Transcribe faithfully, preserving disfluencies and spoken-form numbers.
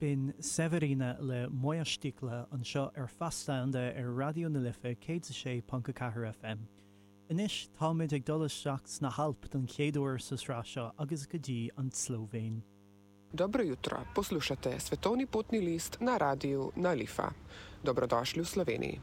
B'in Severina le Moja Štikla anseo ar Feasta ar Raidió na Life céad a sé ponc a ceathair FM. Anois táimid ag dul isteach sna hAilp don chéad uair sa sraith seo agus go dtí an tSlóivéin. Dobro jutro, poslušate Svetovni potni list na radiju Nalifa. Dobrodošli v Sloveniji.